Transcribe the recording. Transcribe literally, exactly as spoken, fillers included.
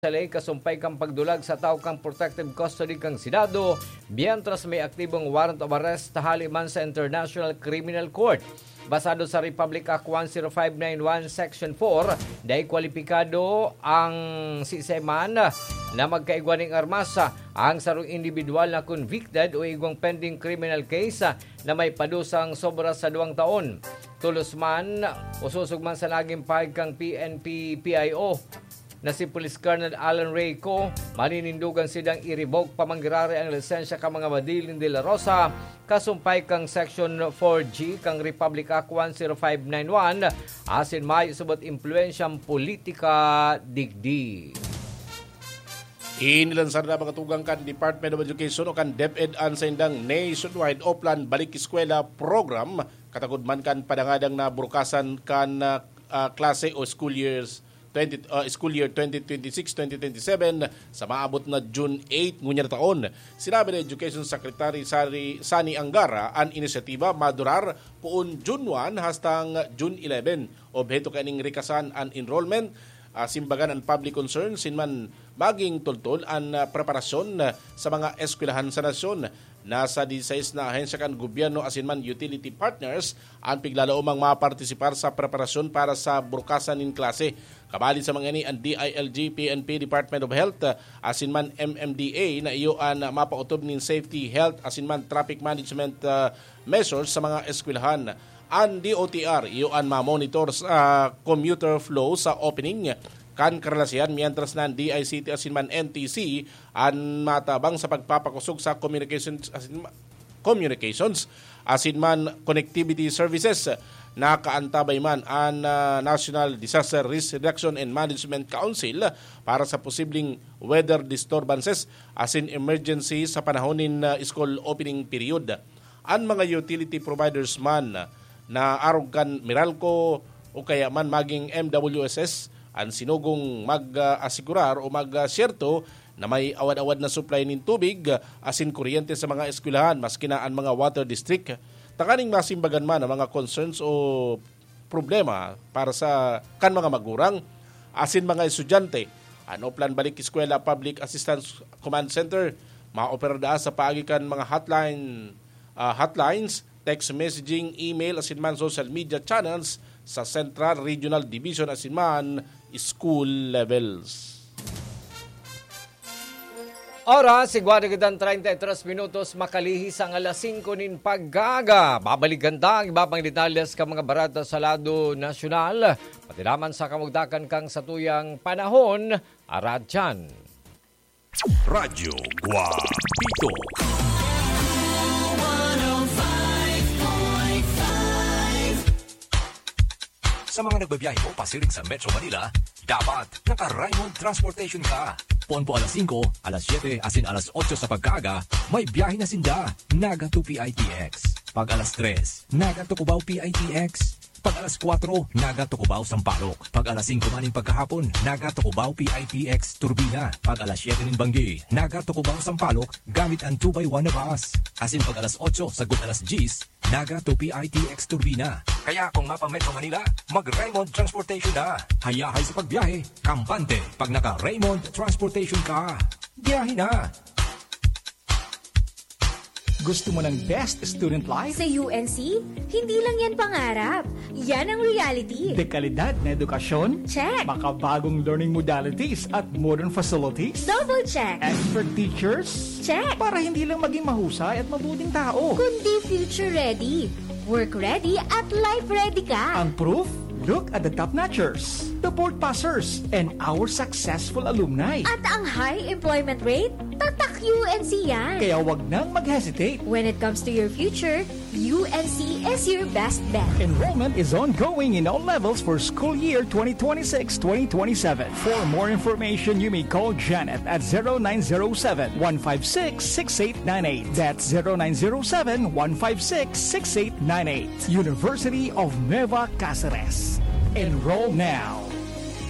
sa ley kasumpay kan pagdulag sa tawo kan protective custody kan Senado, mientras may aktibong warrant of arrest hali man sa International Criminal Court. Basado sa Republic Act one zero five nine one Section four, dai kwalipikado ang siisay man na magkaigwa nin armas, ang sarong indibidwal na convicted o igwang pending criminal case na may padusang sobra sa duwang taon. Tolos man, o sosog man sa naging pahayag kan P N P P I O na si Police Colonel Alan Reyco, maninindogan sidang i-revoke pa man giraray ang lisensya kan mga Madiling de la Rosa, kasumpay kan Section four G kan Republic Act one zero five nine one, asin mayo subot impluwensyang politika digdi. Inilansar na mga tugang kan Department of Education o kan DepEd an saindang nationwide Oplan Balik Eskwela program, katagod man kan padangadang na burukasan kan, ah, ah, klase o school years twenty, ah, school year twenty twenty-six, twenty twenty-seven sa maabot na June eight ngunyan na taon. Sinabi ni Education Secretary Sari, Sani Angara, an inisyatiba madurar poon June one hastang June eleven. Obheto kaining rikasan an enrollment, ah, simbagan an public concern, asin man maging tultol an, ah, preparasyon, ah, sa mga eskwelahan sa nasyon. Nasa disais na ahensya kan gobyerno asin man utility partners an piglalaomang mapartisipar sa preparasyon para sa burukasan nin klase. Kabali sa mga ini, an D I L G, P N P, Department of Health, ah, asin man M M D A na iyo an mapaotob nin safety, health asin man traffic management, ah, measures sa mga eskwelahan. An D O T R iyo an mamonitor sa commuter flow sa opening kan karelasihan, mientras na an D I C T asin man N T C an matabang sa pagpapakosog sa communications asin ma-, communications asin man connectivity services. Nakaantabay man an, ah, National Disaster Risk Reduction and Management Council para sa posibleng weather disturbances asin emergency sa panahon nin, ah, school opening period. An mga utility providers man na arog kan Meralco o kaya man maging M W S S an sinugong mag-asigurar o mag-asyerto na may awad-awad na supply nin tubig asin kuryente sa mga eskwelahan, maski na an mga water district. Tanganing masimbagan man ang mga concerns o problema para sa kan mga magurang asin mga estudyante. An Oplan Balik Eskwela Public Assistance Command Center maoperar daa sa paagi kan mga hotline, ah, hotlines, text messaging, email, asin man social media channels sa Central, Regional Division asin man school levels. Oras, igwa na kitang treinta y tres minutos, makalihis ang alas singko nin pag-aga. Babalikan ta ang iba pang detalles kan mga bareta sa lado nasyonal, pati naman sa kamugtakan kan satuyang panahon, aratyan. Radyo Guapito. Sa mga nagbabiyahe po pasiring sa Metro Manila, dapat naka-Raymond Transportation ka. Poon po alas singko, alas siyete, asin alas otso sa pagkaaga, may biyahe na sinda, Naga to P I T X. Pag alas tres, Naga to Cubao P I T X. Pag alas kwatro, Naga to Cubao Sampaloc. Pag alas singko maning pagkahapon, Naga to Cubao P I T X Turbina. Pag alas siyete nin banggi, Naga to Cubao Sampaloc, gamit ang two by one na bus. Asin pag alas otso sagkod alas diyes, Naga to P I T X Turbina. Kaya kung mapa-Metro Manila, mag-Raymond Transportation na. Hayahay sa pagbiyahe, kampante pag naka-Raymond Transportation ka. Biyahe na! Gusto mo ng best student life? Sa U N C, hindi lang yan pangarap. Yan ang reality. Dekalidad na edukasyon? Check. Makabagong learning modalities at modern facilities? Double check. Expert teachers? Check. Para hindi lang maging mahusay at mabuting tao. Kundi future ready, work ready at life ready ka. Ang proof? Look at the top notchers, the board passers, and our successful alumni. At ang high employment rate? Tatak U N C yan. Kaya wag nang mag-hesitate. When it comes to your future, U N C is your best bet. Enrollment is ongoing in all levels for school year twenty twenty-six twenty twenty-seven. For more information, you may call Janet at zero nine zero seven, one five six, six eight nine eight. That's zero nine zero seven, one five six, six eight nine eight. University of Nueva Cáceres. Enroll now.